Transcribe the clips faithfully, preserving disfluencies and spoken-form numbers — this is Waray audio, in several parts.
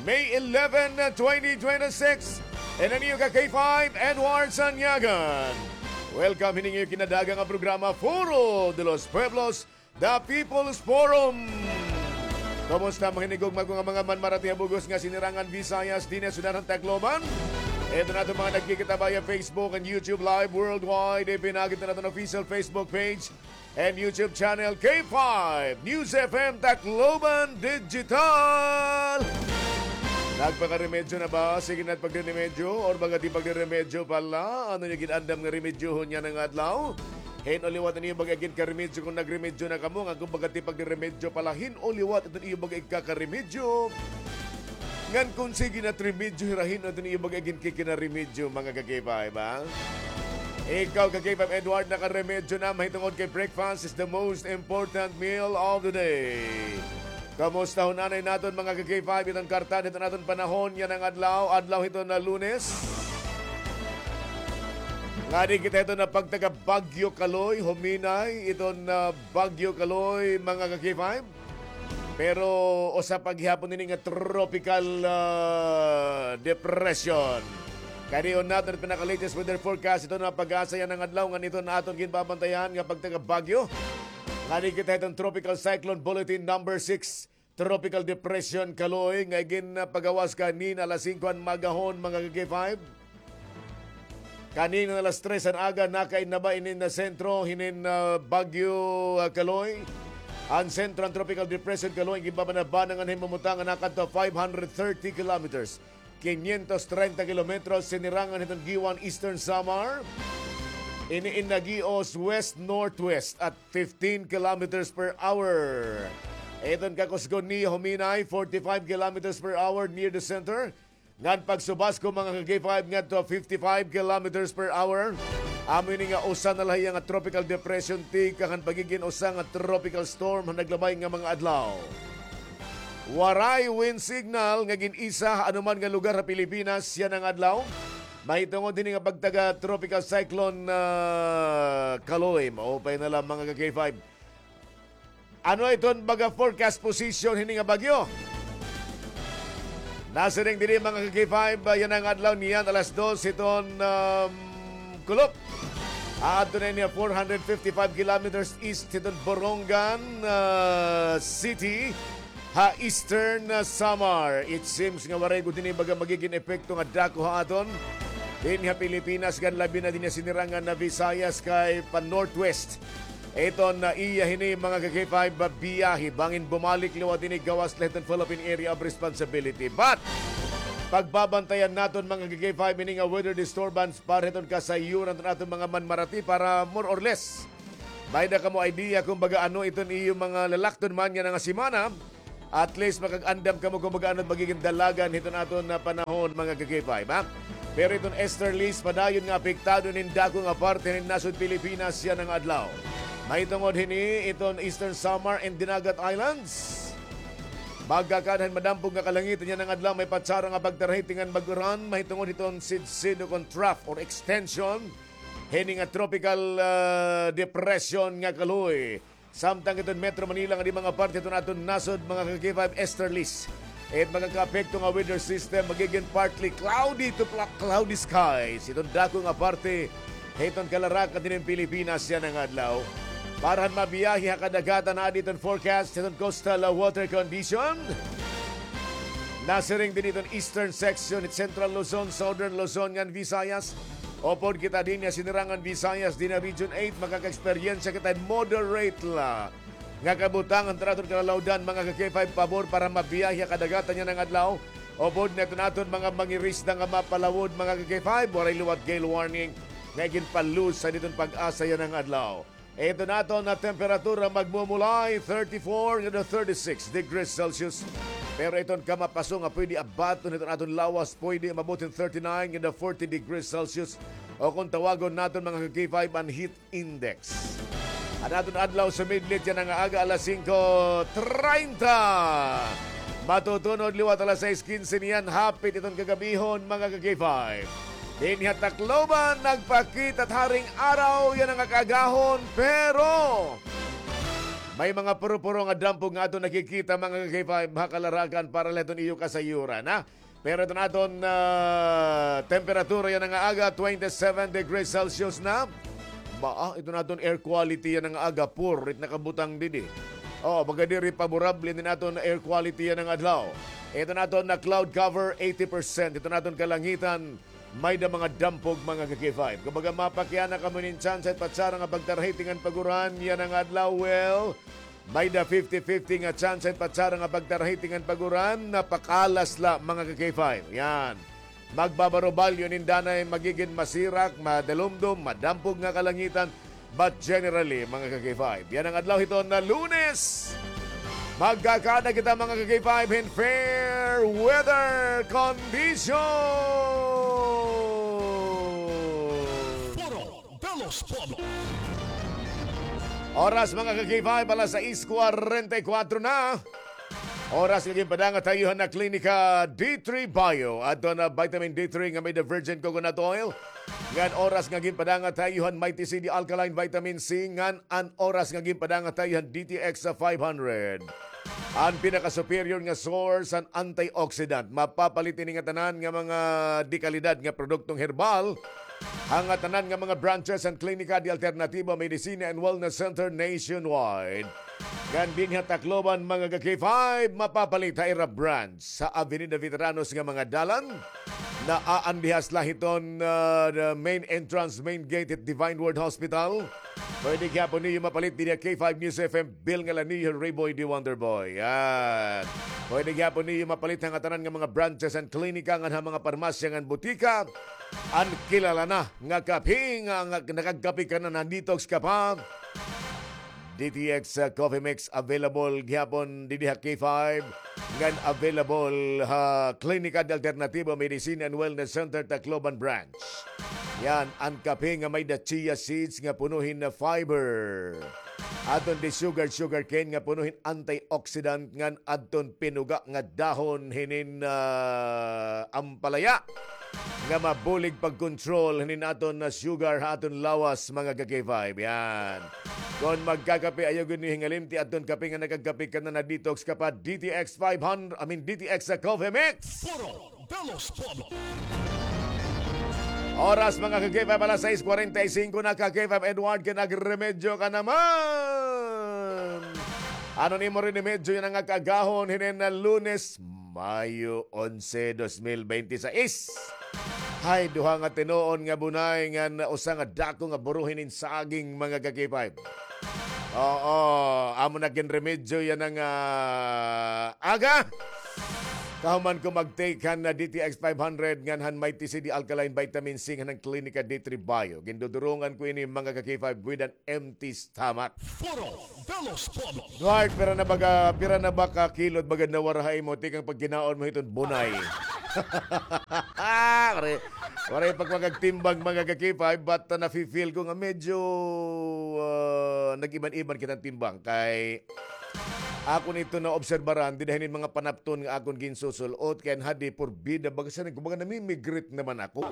May eleven, twenty twenty-six. And an iyo ka K five, Edward Sanyagan. Welcome hini nga iyo kinadagan nga programa, Foro de los Pueblos, The People's Forum. Kumusta, mga hinigugma ko nga mga manmarati ha bug-os nga sinirangan Visayas, dinhi ha syudad han Tacloban? Ito na itong mga nagkikita via Facebook and YouTube Live worldwide. Ipinagit na natin official Facebook page and YouTube channel, K five News F M Tacloban Digital. Nagpakaremedyo na ba? Sige na pagriremedyo or baga ti pagriremedyo pala? Ano niyo gin-andam nga remedyohon yana nga adlaw? Hin-o liwat an iyo baga ginkaremedyo kon nagremedyo na kamo, ngan kon baga ti pagriremedyo pala, hin-o liwat iton iyo baga igkakaremedyo. Ngan kon sige na it remedyo, hira hin-o iton iyo baga ginkikinaremedyo, mga ka-K five, ha? Ikaw, ka-K five Edward, nakaremedyo na, mahitungod kay breakfast is the most important meal of the day. Kamustahon anay naton, mga ka-K five, iton karta hiton aton panahon yana nga adlaw, adlaw hiton Lunes. Ngadi kita hiton pagtaga Bagyo Kaloy, huminay iton Bagyo Kaloy, mga ka-K five. Pero usa pa gihapon ini nga tropical, ah, depression. Kadi-on naton an pinaka-latest weather forecast hiton pag-asa yana nga adlaw, ngan iton aton ginbabantayan nga pagtaga Bagyo. Ngadi kita hiton Tropical Cyclone Bulletin number six, Tropical Depression Kaloy, nga ginpagawas kanina alas singko han maagahon, mga ka-K five. Kanina alas tres han aga, nakainaba inin sentro hinin, ah, Bagyo, ah, Kaloy. An sentro han Tropical Depression Kaloy ginbabanabana ngan hin mamutang nga nakadto five hundred thirty kilometers, quinientos treinta kilometros, sinirangan hiton Guiuan, Eastern Samar. Ini in nagios west-northwest at fifteen kilometers per hour. Iton kakusgon niya huminay, forty-five kilometers per hour near the center. Ngan pagsubasko, mga ka-K five, ngadto fifty-five kilometers per hour. Amo ini nga usa na la hiya nga tropical depression tikang han pagigin usa nga tropical storm han naglabay nga mga adlaw. Waray wind signal nga gin-isa ha anuman nga lugar ha Pilipinas yana nga adlaw, mahitungod hini nga pagtaga Tropical Cyclone, ah, Kaloy. Maupay na la, mga ka-K five. Ano iton baga forecast position hini nga bagyo? Nasiring diri, mga ka-K five, ah, yana nga adlaw niyan alas dos hiton, um, kulop. Aadto na ini four hundred fifty-five kilometers east hiton Borongan, ah, City, ha Eastern, ah, Samar. It seems nga waray gud hini baga magigin epekto nga dako ha aton dinhi ha Pilipinas, ngan labi na dinhi ha sinirangan nga Visayas kay pa-northwest iton, ah, iya hini, mga ka-K five, biyahe. Bangin bumalik liwat ini gawas la hiton Philippine Area of Responsibility. But pagbabantayan naton, mga ka-K five, ini nga weather disturbance para hiton kasayuran hiton aton mga manmarati para more or less may-ada kamo idea kon baga ano iton iyo mga lalakton man yana nga semana. At least makag-andam kamo kon baga ano it magigin dalagan hiton aton nga panahon, mga ka-K five, ha? Pero iton easterlies padayon nga apektado hinin dako nga parte hinin nasod Pilipinas yana nga adlaw. Mahitungod hini iton Eastern Samar and Dinagat Islands. Magkakaada han madampog nga kalangitan yana nga adlaw, may patsara nga pagtarahi tingan mag-uran mahitungod hiton sidsid o kon trough or extension hini nga tropical, ah, depression nga Kaloy. Samtang iton Metro Manila ngan iba nga parte hiton aton nasod, mga ka-K five, easterlies. It magakaapekto nga weather system, magigin partly cloudy to pla-, cloudy skies iton dako nga parte hiton kalarakan hinin Pilipinas yana nga adlaw. Para han mabiyahe ha kadagatan, aadi iton forecast hiton coastal, ah, water condition. Nasiring dinhi iton eastern section hit Central Luzon, Southern Luzon, ngan Visayas. Upod kita dinhi ha Sinirangan Visayas, dinhi ha Region eight, makaka-eksperyensya kita hin moderate la nga kabutangan hiton aton kalalawdan, mga ka-K five, pabor para mabiyahe ha kadagatan yana nga adlaw. Upod na iton aton mga mangirisda nga mapalawod, mga ka-K five, waray liwat gale warning nga iginpa-loose han iton PAGASA yana nga adlaw. Iton aton nga temperatura magmumulay thirty-four ngadto thirty-six degrees Celsius. Pero iton kamapaso nga pwede abaton hiton aton lawas, pwede umabot hin thirty-nine ngadto forty degrees Celsius. O kon tawagon naton, mga ka-K five, an heat index. An aton adlaw sumidlit yana nga aga alas singko treinta. Matutunod liwat alas sais kinse niyan, hapit iton kagabihon, mga ka-K five. Dinhi ha Tacloban, nagpakita it haring araw yana nga kaagahon, pero May mga puro-puro nga dampog nga aton nakikita, mga ka-K five, ha kalarakan para la hiton iyo kasayuran, ha? Pero iton aton, ah, temperatura yana nga aga, twenty-seven degrees Celsius na. Ba, ah, iton aton air quality yana nga aga, poor it nakabutang didi. Oh, baga diri paborable iton aton air quality yana nga adlaw. Iton aton na cloud cover, eighty percent. Iton aton kalangitan, may-da mga dampog, mga ka-K five. Kumbaga, mapakiana kamo nin tsansa it patsara nga pagtarahiti ngan pag-uran yana nga adlaw. Well, may-da fifty fifty nga tsansa it patsara nga pagtarahiti ngan pag-uran, napakalas la, mga ka-K five. Yan. Magbabarobalyo nin danay magigin masirak, madalumdom, madampog nga kalangitan, but generally, mga ka-K five, yana nga adlaw hiton na Lunes, magkakaada kita, mga ka-K five, hin fair weather condition. Foro de los Pueblos. Oras, mga ka-K five, alas sais kwarenta y kuwatro na. Oras nga ginpadangat ha iyo han Klinika D three Bio. Adto na vitamin D three nga may-da virgin coconut oil. Ngan oras nga ginpadangat ha iyo han Mighty C D Alkaline Vitamin C. Ngan an oras nga ginpadangat ha iyo han D T X five hundred. An pinaka-superior nga source han antioxidant. Mapapalit ini nga tanan nga mga dekalidad nga produktong herbal ha ngatanan nga mga branches han Klinika de Alternativo Medicina and Wellness Center nationwide. Ngan dinhi ha Tacloban, mga ka-K five, mapapalit ha ira branch sa Avenida Veteranos nga mga dalan. Naaandihas la hiton, ah, the main entrance, main gate hit Divine Word Hospital. Pwede gihapon niyo mapalit dinhi ha K five News F M, Bill Ngalanillo, Rayboy the Wonder Boy. Yan. Pwede gihapon niyo mapalit ha ngatanan nga mga branches han klinika ngan ha mga parmasya ngan butika. An kilala na nga kape nga, nga nakagkape ka na, na-detox ka pa. D T X, uh, Coffee Mix available gihapon didi ha K five, ngan available ha Klinika de Alternativo Medicine and Wellness Center, Tacloban Branch. Yan, an kape nga may-da chia seeds nga puno hin fiber. Adton de-sugared sugarcane nga puno hin antioxidant ngan adton pinuga nga dahon hinin, ah, ampalaya nga mabulig pag-control hinin aton na sugar ha aton lawas, mga ka-K five. Yan. Kon magkakape, ayaw gud niyo hingalimti adton kape nga nakagkape ka na, na-detox ka pa, D T X five hundred, I mean, D T X sa Coffee Mix. Foro de los Pueblos. Oras, mga ka-K five, alas sais kwarenta y singko na, ka-K five Edward, kay nagremedyo ka naman. Ano an imo rinimedyo yana nga kaagahon hinin na Lunes, Mayo onse, dos mil bente sais? Hay, duha nga tinuon nga bunay ngan usa nga dako nga buro hinin saging, mga ka-K five. Oo, amo na ginremedyo yana nga aga. Kahuman ko mag-take han, ah, D T X five hundred ngan han Mighty C D Alkaline Vitamin C ngan han Klinika D three Bio. Gindudurungan ko ini, mga ka-K five, with an empty stomach. Foro de los Pueblos. Duarte, pira na baga, pira na ba ka kilo it baga nawara ha imo tikang pagkinaon mo hiton bunay? Waray, waray pa ak makagtimbang, mga ka-K five, but, ah, nafi-feel ko nga medyo, ah, nag-iban-iban kita hin timbang kay akon ito naobserbaran dida hinin mga panapton nga akon ginsusul-ot, kay an hadi porbida, baga siring ko, baga namimigrit naman ako.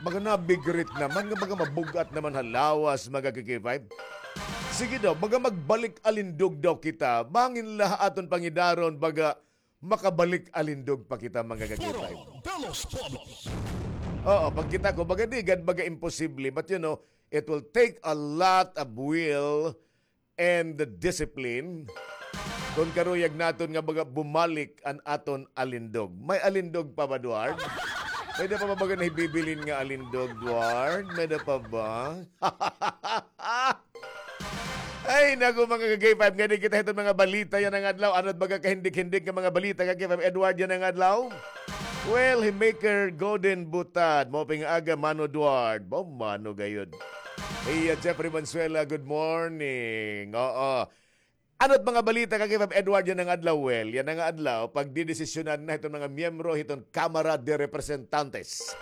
Baga nabigrit naman, nga baga mabug-at naman ha lawas, mga ka-K five. Sige daw, baga magbalik alindog daw kita. Bangin la ha aton pangidaron, baga makabalik alindog pa kita, mga ka-K five. Foro de los Pueblos. Oo, pagkita ko, baga di gad, baga imposible. But, you know, it will take a lot of will and the discipline. Kon karuyag naton nga baga bumalik an aton alindog. May alindog pa ba, Duarte? May-da pa ba baga nahibibilin nga alindog, Duarte? May-da pa ba? Ay, naku, mga ka-K five, ngani kita hiton mga balita yana nga adlaw. Ano it baga kahindik-hindik nga mga balita, ka-K five Edward, yana nga adlaw? Well, hi Maker Godin Butad, maupay nga aga, Mano Duarte. Ba, Mano gayod. Iya, Jeffrey Mansuela, good morning. Oo. Ano it mga balita, ka-K five Edward, yana nga adlaw? Well, yana nga adlaw, pagdidesisyonan na hiton mga miyembro hiton Kamara de Representantes.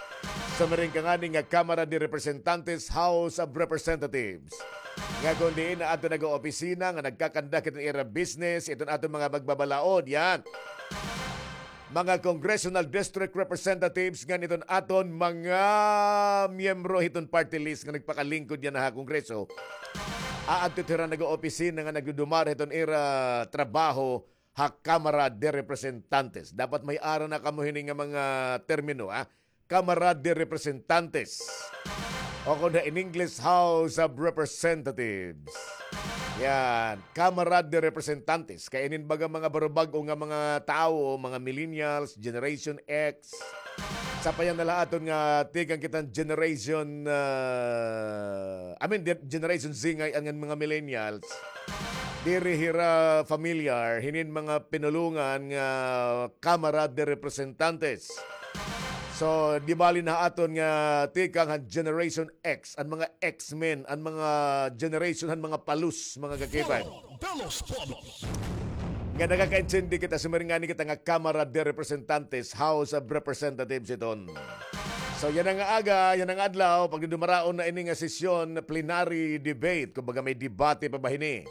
Sumiring ka ngani nga Kamara de Representantes, House of Representatives. Nga kon diin na adto nag-opisina, nga nagkakandak hiton ira business, iton aton mga magbabalaod, yan. Mga congressional district representatives ngan iton aton mga miyembro hiton party list nga nagpakalingkod yana ha Kongreso. aadto hira nag-opisina nga nagdudumara hiton ira trabaho ha Kamara de Representantes. Dapat may ara na kamo hini nga mga termino, ha? Kamara de Representantes. O kon ha, in English, House of Representatives. Yan, Kamara de Representantes. Kay inin baga mga barubag-o nga mga tawo, mga millennials, Generation X. Sapayan na la aton nga tikang kita han Generation, ah, I mean, di-, Generation Z ngay-an nga mga millennials. Diri hira familiar hinin mga pinulongan nga Kamara de Representantes. So, di bali na aton nga tikang han Generation X, an mga X-Men, an mga generation han mga palus, mga ka-K five. Foro de los Pueblos. Nga nakakaintindi kita, sumiring ngani kita nga Kamara de Representantes, House of Representatives iton. So, yana nga aga, yana nga adlaw, pagdudumaraon na ini nga sesyon, plenary debate, kumbaga may debate pa ba hini.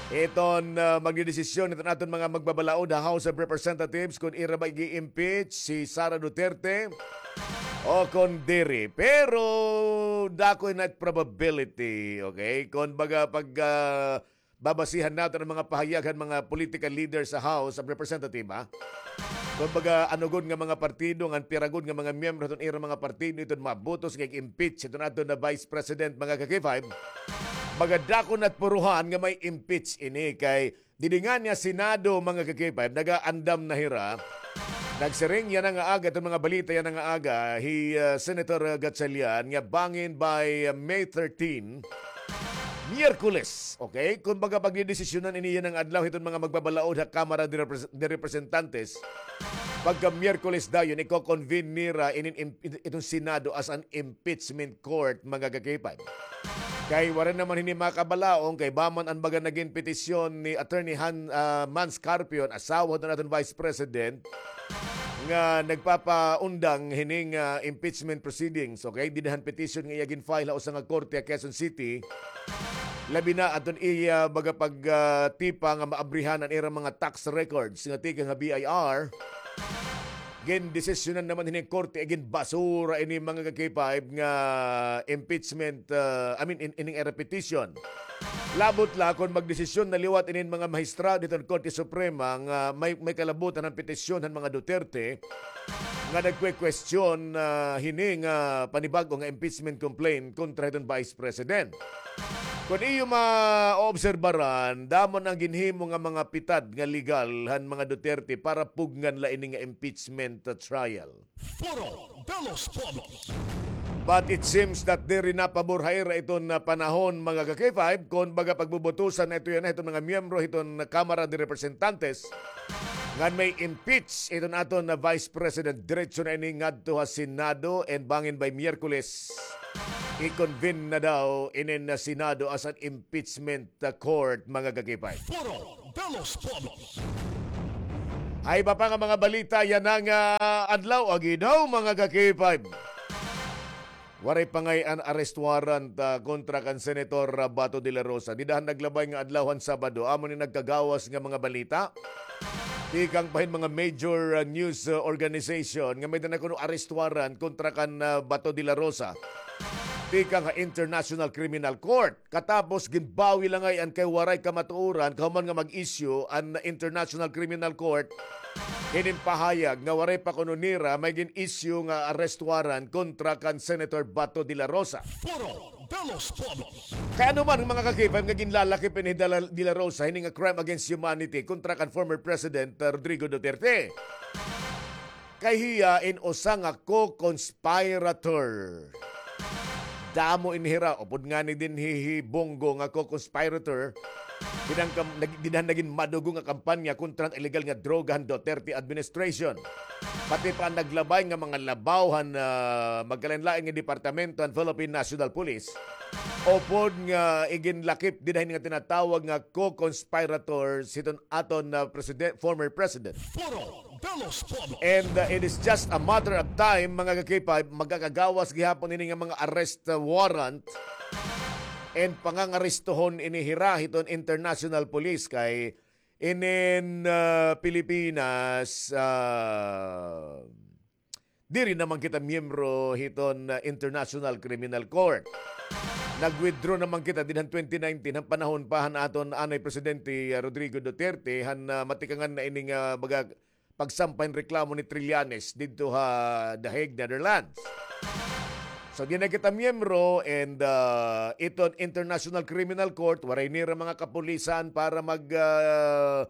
Iton, ah, magdidesisyon iton aton mga magbabalaod ha House of Representatives kon ira ba ig-impeach si Sara Duterte o kon diri. Pero dako na it probability, okay? Kon baga pag, ah, babasihan naton an mga pahayag han mga political leaders sa House of Representatives, ha? Kon baga, ano gud nga mga partido, ngan pira gud nga mga miyembro hiton ira mga partido iton mabutos nga ig-impeach hiton aton na Vice President, mga ka-K five, baga dako na it puruhan nga ma-impeach ini kay didi ngani ha Senado, mga ka-K five, nagaandam na hira. Nagsiring yana nga aga, iton mga balita yana nga aga, hi, ah, Senator Gatchalian nga bangin by, ah, May thirteen, Miyerkules, okay? Kumbaga, pagdidesisyonan ini yana nga adlaw hiton mga magbabalaod ha Kamara de Repres-, de Representantes. Pagka Miyerkules dayon, iko-convene nira inin im-, it-, iton Senado as an impeachment court, mga ka-K five. Kay waray naman hini makabalaod, kay ba man an baga nagin petisyon ni Attorney Han, ah, Mans Carpio, asawa hiton aton Vice President, nga nagpapaundang hining, ah, impeachment proceedings, okay? Dida han petition nga iya gin-file ha usa nga korte ha Quezon City. Labi na adton iya baga pag, ah, tipa nga maabrihan an ira mga tax records nga tikang ha B I R. Gindesisyonan naman hining korte, ginbasura ini, mga ka-K five, nga impeachment, ah, I mean, in, ining ira petition. Labot la kon magdesisyon na liwat inin mga mahistrado hiton Korte Suprema nga may, may kalabutan han petisyon han mga Duterte nga nagkwe-question, ah, hini nga panibag-o nga impeachment complaint kontra hiton Vice President. Kon iyo maobserbaran, damo na an ginhimo nga mga pitad nga legal han mga Duterte para pugngan la ini nga impeachment, ah, trial. Foro de los Pueblos. But it seems that diri na pabor ha ira iton, ah, panahon, mga ka-K five, kon baga pagbubutusan na ito yana hiton mga miyembro hiton Kamara de Representantes ngan may impeach iton aton na Vice President, diretso na ini ngadto ha Senado, and bangin by Miyerkules, i-convene na daw inin na Senado as an impeachment, ah, court, mga ka-K five. Foro de los Pueblos. Hay iba pa nga mga balita yana nga adlaw, agi daw, mga ka-K five. Waray pa ngay-an arrest warrant, ah, kontra kan Senator, ah, Bato de la Rosa. Dida han naglabay nga adlaw han Sabado, amo ni nagkagawas nga mga balita tikang pa hin mga major, ah, news, ah, organization nga may-ada na kuno arrest warrant kontra kan, ah, Bato de la Rosa tikang ha International Criminal Court. Katapos ginbawi la ngay-an kay waray kamatuoran kahuman nga mag-issue an International Criminal Court hinin pahayag nga waray pa kuno nira may gin-issue nga arrest warrant kontra kan Senator Bato de la Rosa. Foro de los Pueblos. Kay ano man, mga ka-K five, nga ginlalakip ini hi Dela-, de la Rosa hini nga crime against humanity kontra kan former President, uh, Rodrigo Duterte? Kay hiya in usa nga co-conspirator. Damo ini hira, upod ngani dinhi hi Bong Go nga co-conspirator. Dida han kam-, nag-, dida han nagin madugo nga kampanya kontra han illegal nga droga han Duterte administration. Pati pa an naglabay nga mga labaw han, ah, magkalain-lain nga departamento han Philippine National Police. Upod nga iginlakip dida hini nga tinatawag nga co-conspirators hiton aton, ah, presiden-, former president. Foro de los Pueblos. And, uh, it is just a matter of time, mga ka-K five, magkakagawas gihapon ini nga mga arrest, uh, warrant and pangangarestohon ini hira hiton international police kay inin, uh, Pilipinas, uh, diri naman kita miyembro hiton, uh, International Criminal Court. Nag-withdraw naman kita didto han twenty nineteen, han panahon pa han aton anay Presidente, ah, Rodrigo Duterte, han, ah, matikangan na ini nga baga pagsampa hin reklamo ni Trillanes didto ha The Hague, Netherlands. So, di na kita miyembro and, ah, iton International Criminal Court, waray nira mga kapulisan para mag, ah,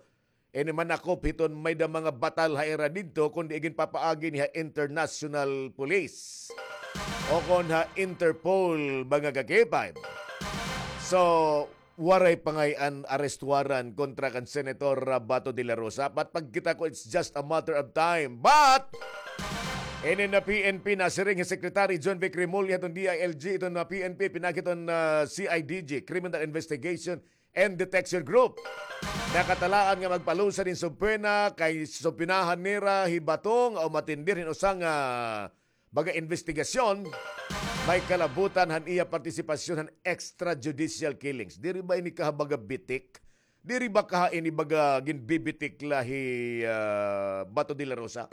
ini manakop hiton may-ada mga batal ha ira didto, kundi iginpapaagi ni ha international police o kon ha Interpol, mga ka-K five. So, waray pa ngay-an arrest warrant kontra kan Senator, ah, Bato de la Rosa. But pagkita ko, it's just a matter of time. But, ini na P N P, nasiring hi Secretary Jonvic Remulla hiton D I L G, iton na P N P, pinaagi hiton, ah, C I D G, Criminal Investigation and Detection Group. Nakatalaan nga magpalusad hin subpoena kay subpoenahan nira hi Bato nga umatendir hin usa nga baga imbestigasyon, may kalabutan han iya partisipasyon han extrajudicial killings. Diri ba ini kaha baga bitik? Diri ba kaha ini baga ginbibitik la hi, ah, Bato de la Rosa?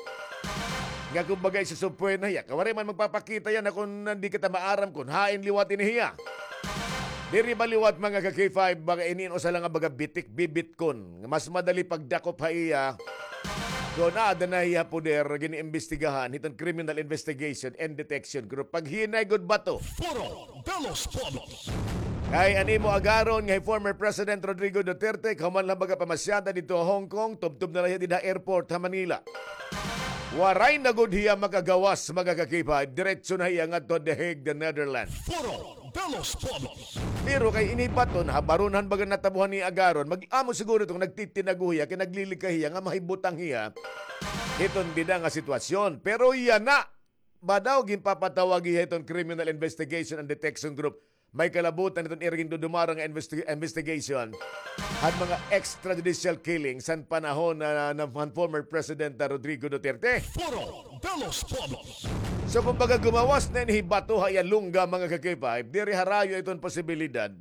Nga kumbaga, isusubpoena hiya. Kay waray man magpapakita yana kon diri kita maaram kon hain liwat ini hiya. Diri ba liwat, mga ka-K five, baga ini usa la nga baga bitik, bibitkon. Nga mas madali pagdakop ha iya kon aada na hiya poder, giniimbestigahan hiton Criminal Investigation and Detection Group. Paghinay gud Bato. Foro de los Pueblos. Kay an imo agaron nga hi former President Rodrigo Duterte, kahuman la baga pamasyada didto ha Hong Kong, tubtob na la hiya dida ha airport ha Manila. Waray na gud hiya makagawas, mga ka-K five, diretso na hiya ngadto ha The Hague, the Netherlands. Foro de los Pueblos. Pero kay ini Bato, habaron han baga natabo han iya agaron, mag-amo siguro ito nga nagtitinago hiya, kay naglilikay hiya nga mahibutang hiya hiton dida nga sitwasyon. Pero yana ba daw ginpapatawag hiya hiton Criminal Investigation and Detection Group. May kalabutan hiton ira gindudumara nga investi-, investigation han mga extrajudicial killings han panahon na, na, han former President na Rodrigo Duterte. Foro de los Pueblos. So, kumbaga, gumawas na ini hi Bato ha iya lungga, mga ka-K five, diri harayo iton posibilidad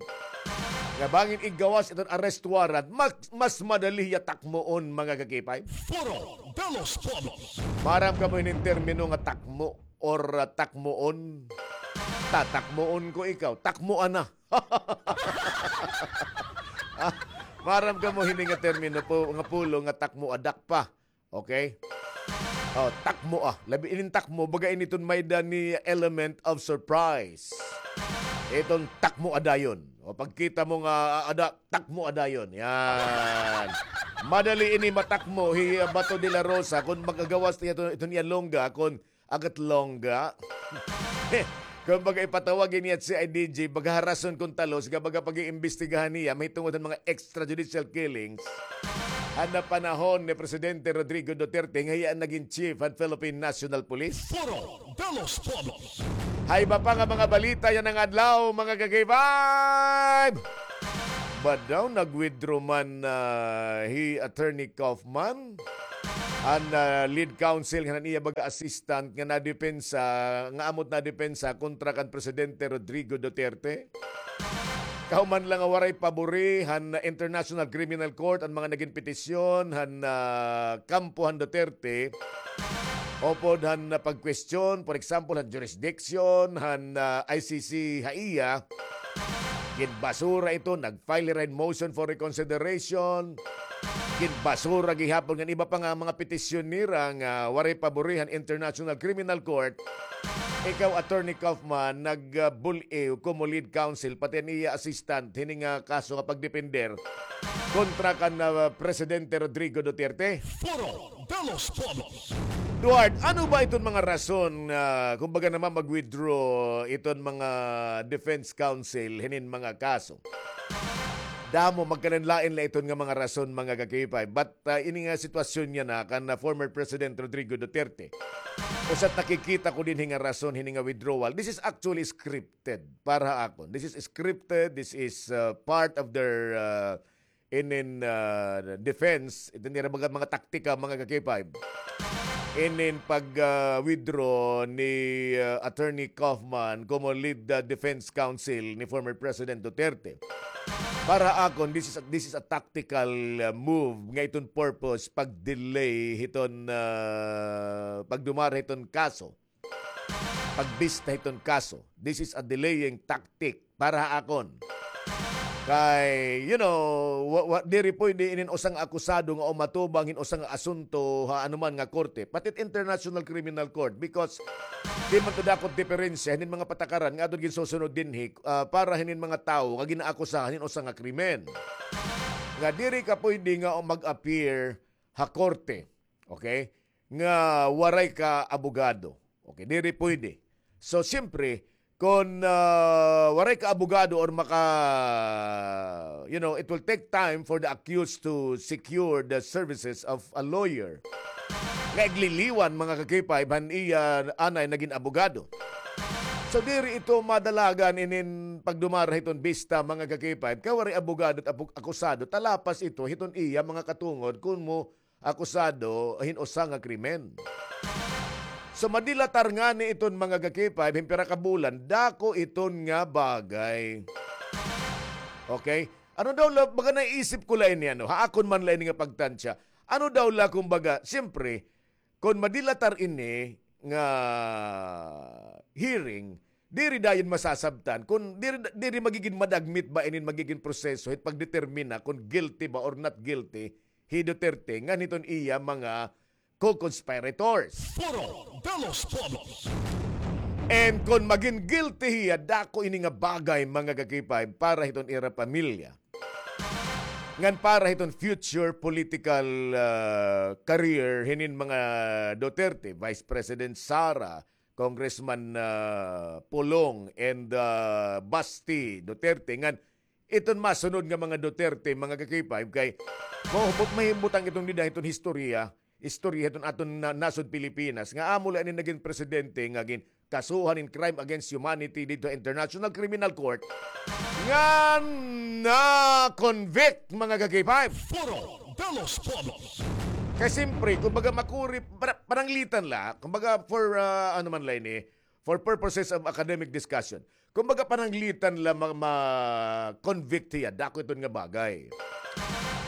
nga bangin igawas iton arrest warrant, mas, mas madali hiya takmoon, mga ka-K five. Foro de los Pueblos. Maaram kamo hinin termino nga takmo or, ah, takmoon? Tatakmoon ko ikaw. Takmoa na. Ah, maaram kamo hini nga termino po, nga pulong nga takmoa, dakpa. Okay? Oh, takmoa. Labi inin takmo, baga ini iton may-ada ni element of surprise. Iton takmoa dayon. O, pagkita mo nga, ah, ada, takmoa dayon. Yan. Madali ini matakmo hi, ah, Bato de la Rosa kon makagawas niya iton, iton iya longga, kon agat longga. Kumbaga, ipatawag ini ha C I D G, baga ha rason kon talos, nga baga pag-iimbestigahan niya, mahitungod han mga extrajudicial killings han napanahon ni Presidente Rodrigo Duterte, nga hiya an nagin chief han Philippine National Police. Foro de los Pueblos. Ha iba pa nga mga balita yana nga adlaw, mga ka-K five. Ba daw nag-withdraw man, ah, hi Attorney Kaufman, an, ah, lead counsel ngan an iya baga assistant nga nadepensa, nga amo it nadepensa kontra kan Presidente Rodrigo Duterte? Kahuman la nga waray pabori han International Criminal Court an mga nagin petisyon han, ah, kampo han Duterte, upod han, ah, pagkwestiyon, for example, han jurisdiction han, ah, I C C ha iya. Ginbasura ito, nag-file hira hin motion for reconsideration. Ginbasura gihapon ngan iba pa nga mga petisyon nira nga waray pabori han International Criminal Court. Ikaw, Attorney Kaufman, nag, ah, bul-iw komo lead counsel, pati an iya assistant, hini nga kaso nga pagdepender kontra kan, ah, Presidente Rodrigo Duterte. Foro de los Pueblos. Duarte, ano ba iton mga rason nga, kumbaga naman, mag-withdraw iton mga defense counsel hinin mga kaso? Damo, magkalain-lain la iton nga mga rason, mga ka-K five. But, ah, ini nga sitwasyon yana kan, ah, former President Rodrigo Duterte, usa it nakikita ko dinhi nga rason hini nga withdrawal. This is actually scripted para ha akon. This is scripted. This is, ah, part of their, ah, inin, ah, defense, iton ira mga, mga taktika, mga ka-K five. Inin pag, ah, withdraw ni, ah, Attorney Kaufman komo lead, ah, defense counsel ni former President Duterte. Para akon, this is a, this is a tactical, ah, move nga iton purpose pag-delay hiton, ah, pagdumara hiton kaso. pagbista hiton kaso. This is a delaying tactic para ha akon. Kay, you know, wa, wa, diri pwede inin usa nga akusado nga umatubang hin usa nga asunto ha anuman nga korte, pati international criminal court, because di man to dako it diperensya hinin mga patakaran nga aton ginsusunod dinhi, ah, para hinin mga tawo nga ginaakusahan hin usa nga krimen. Nga diri ka pwede nga mag-appear ha korte, okay, nga waray ka abogado. Okay, diri pwede. So, siyempre, kon, ah, waray ka abogado or maka, you know, it will take time for the accused to secure the services of a lawyer. Nga igliliwan, mga ka-K five, han iya anay nagin abogado. So, diri ito madalagan inin pagdumara hiton bista, mga ka-K five, kay waray abogado it apu-, akusado, talapas ito hiton iya mga katungod kun mo akusado hin usa nga krimen. So, madilatar ngani iton, mga ka-K five, hin pira ka bulan, dako iton nga bagay. Okay? Ano daw la, baga naisip ko la ini, ano, ha akon man la ini nga pagtansya. Ano daw la, kumbaga, siyempre, kon madilatar ini nga hearing, diri dayon masasabtan, kon diri, diri magigin madagmit ba inin magigin proseso hit pagdetermina kon guilty ba or not guilty hi Duterte ngan hiton iya mga co-conspirators. Foro de los Pueblos. And kon magin guilty hiya, dako ini nga bagay, mga ka-K five, para hiton ira pamilya. Ngan para hiton future political, ah, career hinin mga Duterte, Vice President Sara, Congressman, ah, Pulong, and, ah, Basti Duterte. Ngan iton masunod nga mga Duterte, mga ka-K five, kay mahubot, mahibutang iton dida, iton historya, istorya hiton aton na-, nasod Pilipinas, nga amo la ini nagin presidente nga ginkasuhan in crime against humanity didto ha International Criminal Court, nga na-convict, mga ka-K five. Foro de los Pueblos. Kay simpre, kumbaga makuri, para-, pananglitan la, kumbaga for, ah, ano man la ini, for purposes of academic discussion. Kumbaga, pananglitan la ma-, ma-convict hiya, dako iton nga bagay.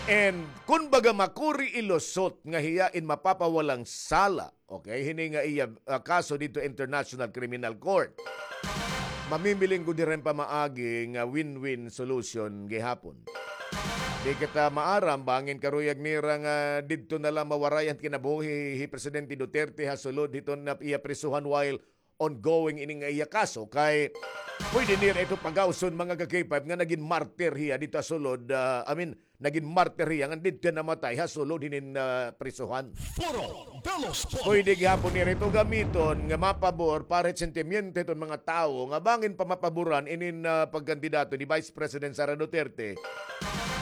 And, kumbaga, makuri ilusot nga hiya in mapapawalang sala, okay, hini nga iya, ah, kaso didto International Criminal Court. Mamimiling ko diri hin pamaagi nga win-win solution gihapon. Di kita maaram, bangin karuyag nira nga didto na la mawaray an kinabuhi hi Presidente Duterte ha sulod hiton iya prisuhan while ongoing ini nga iya kaso, kay pwede nira ito pagawson, mga ka-K five, nga nagin martir hiya didto ha sulod, ah, I mean, nagin martir hiya nga didto namatay ha sulod hinin, ah, prisuhan. Foro de los Pueblos. Pwede gihapon nira ito gamiton nga mapabor para hit sentimiento hiton mga tawo nga bangin pa mapaboran inin, ah, pagkandidato ni Vice President Sara Duterte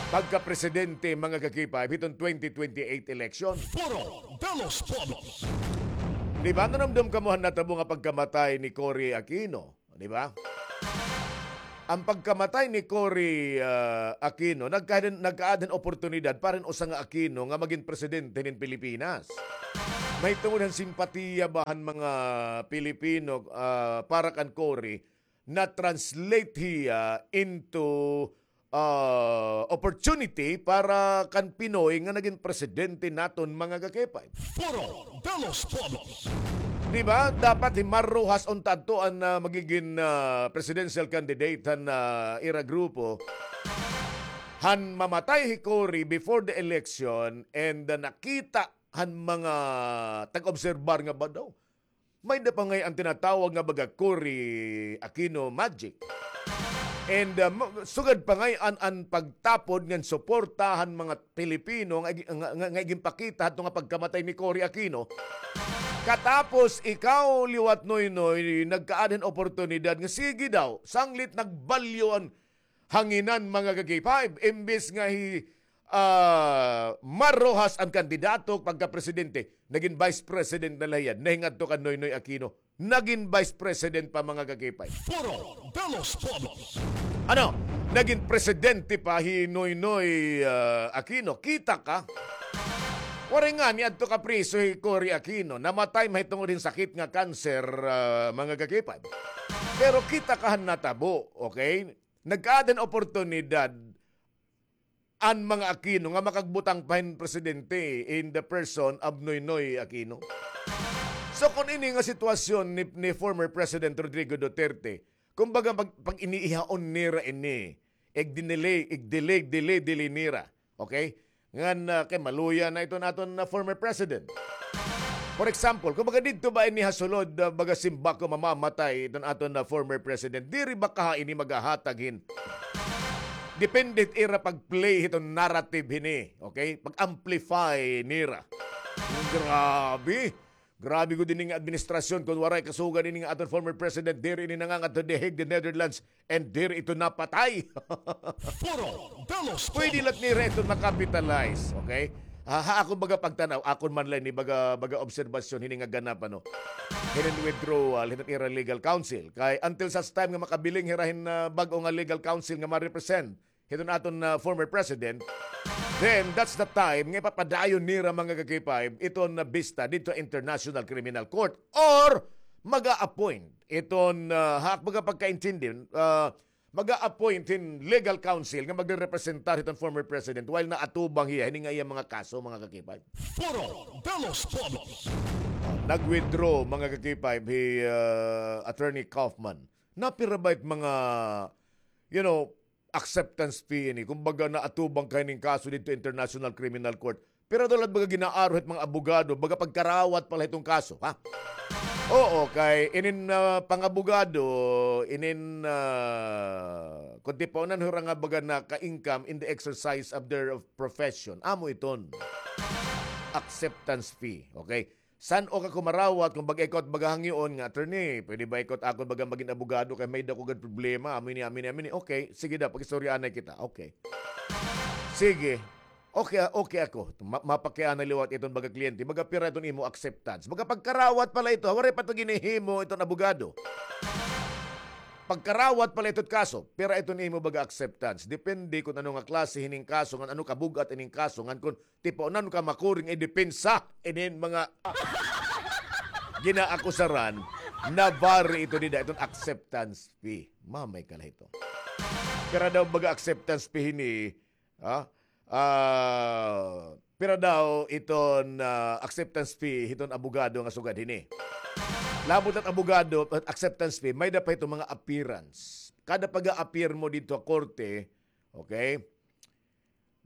pagka-presidente, mga ka-K five, hiton twenty twenty-eight election. Foro de los Pueblos. Di ba, nanumdom kamo han natabo nga pagkamatay ni Cory Aquino? Di ba? An pagkamatay ni Cory, ah, Aquino, nagka-, nagkaada hin oportunidad para hin usa nga Aquino nga magin presidente hinin Pilipinas. Mahitungod han simpatiya ba han mga Pilipino, ah, para kan Cory, na-translate hiya into ah, opportunity para kan Pinoy nga nagin presidente naton, mga ka-K five. Foro de los Pueblos. Di ba? Dapat hi Mar Roxas unta adto an, ah, magigin, ah, presidential candidate han, ah, ira grupo. Han mamatay hi Cory before the election and, ah, nakita han mga tag-obserbar nga ba daw may-ada pa ngay-an tinatawag nga baga Cory Aquino magic. And, uh, ma-, sugad pa ngay-an an pagtapod ngan suporta han mga Pilipino nga, nga, nga, nga ginpakita hadto nga pagkamatay ni Cory Aquino. Katapos ikaw liwat, Noynoy, nagkaada hin oportunidad nga sige daw, sanglit nagbalyo an hanginan, mga ka-K five. Imbes nga hi, ah, Mar Roxas an kandidato pagka-presidente, nagin vice president na la hiya, nahingadto kan Noynoy Aquino. Nagin vice president pa, mga ka-K five. Foro de los Pueblos. Ano? Nagin presidente pa hi Noynoy, ah, Aquino. Kita ka? Waray ngani adto kapriso hi Cory Aquino. Namatay mahitungod hin sakit nga cancer, ah, mga ka-K five. Pero kita ka han natabo, okay? Nagkaada hin oportunidad an mga Aquino nga makagbutang pa hin presidente in the person of Noynoy Aquino. So, kung ini nga sitwasyon ni, ni former President Rodrigo Duterte, kumbaga, pag, pag iniihaon nira ini, ig-delay, ig-delay, delay, delay nira. Okay? Ngan, ah, kay maluya na iton aton, ah, former president. For example, kumbaga didto ba ini ha sulod, ah, baga simba ko mamamatay iton aton, ah, former president, diri ba kaha ini magahatag hin depende hit ira pag-play hiton narrative hini, okay? Pag-amplify nira. Grabe. Grabe gud ini nga administrasyon, kon waray kasugad ini nga aton former president, diri ini nangangadto The Hague, the Netherlands, and diri ito napatay. Foro de los Pwede Pueblos. Lat nira ito makapitalize, okay? Ha, ha akon baga pagtanaw, akon man la ini baga, baga obserbasyon hini nga ganap, ano, hinin withdrawal hiton ira legal counsel. Kay until such time nga makabiling hira hin, ah, bag-o nga legal counsel nga ma-represent hiton aton, ah, former president, then that's the time nga ipapadayon nira, mga ka-K five, iton, ah, bista didto International Criminal Court or maga-appoint iton, ah, ha ak baga pagkaintindi, ah, maga-appoint hin legal counsel nga magrerepresentar hiton former president while naatubang hiya hini nga iya mga kaso, mga ka-K five. Foro de los Pueblos. Ah, nag-withdraw, mga ka-K five, hi, ah, Attorney Kaufman. Napira ba it mga, you know, acceptance fee ini? Kumbaga, naatubang ka hining kaso didto International Criminal Court. Pero daw la baga ginaaro hit mga abogado, baga pagkarawat pa la hiton kaso, ha? Oo, kay inin, ah, pangabogado, inin, ah, kon tipaunan hira nga baga naka-income in the exercise of their profession. Amo iton acceptance fee, okay? San-o ka kumarawat kon baga ikaw it baga hangyoon nga, "Attorney, pwede ba ikaw it akon baga magin abogado kay may-ada ko gad problema, amo ini, amo ini, amo ini." Okay, sige daw, pag-istoryaanay kita. Okay. Sige. Okay, ah, okay ako. Ma-, mapakianay liwat iton baga kliyente. Baga pira iton imo acceptance. Baga pagkarawat pa la ito, waray pa ito ginhihimo iton abogado. Pagkarawat pa la ito it kaso, pira iton imo baga acceptance. Depende kon ano nga klase hining kaso, ngan ano kabug-at ining kaso, ngan kon tipaunan ka makuring idepensa inin mga ginaakusaran, na-vary ito dida, iton acceptance fee. Mamay ka la hito. Pira daw baga acceptance fee hini, ha? Ah, pira daw iton, ah, acceptance fee hiton abogado nga sugad hini? Labot it abogado, acceptance fee, may-ada pa hiton mga appearance. Kada pag-a-appear mo didto ha korte, okay?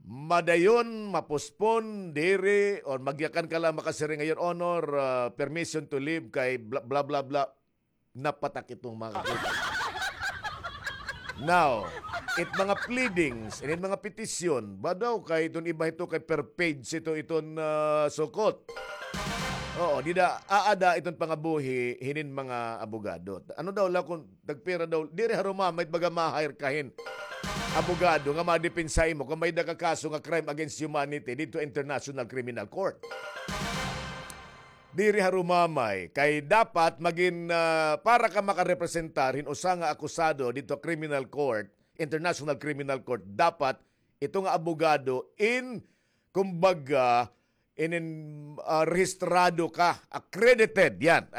Madayon, ma-postpone, diri, or magyakan ka la makasiring nga, "Your Honor, ah, permission to leave kay bla, bla, bla, bla." Napatak iton mga ka-K five. Now, it mga pleadings, inin mga petisyon, ba daw kay iton iba hito kay per page ito iton, ah, sukot. Oo, dida, aada iton pangabuhi hinin mga abogado. Ano daw la kon tagpira daw, diri ha Rumamay it baga ma-hire ka hin abogado nga madepensa imo kon may-ada ka kaso nga crime against humanity didto International Criminal Court. Diri ha Rumamay, kay dapat magin, ah, para ka makarepresentar hin usa nga akusado didto criminal court, International Criminal Court, dapat ito nga abogado in, kumbaga, inin, ah, rehistrado ka, accredited, yan.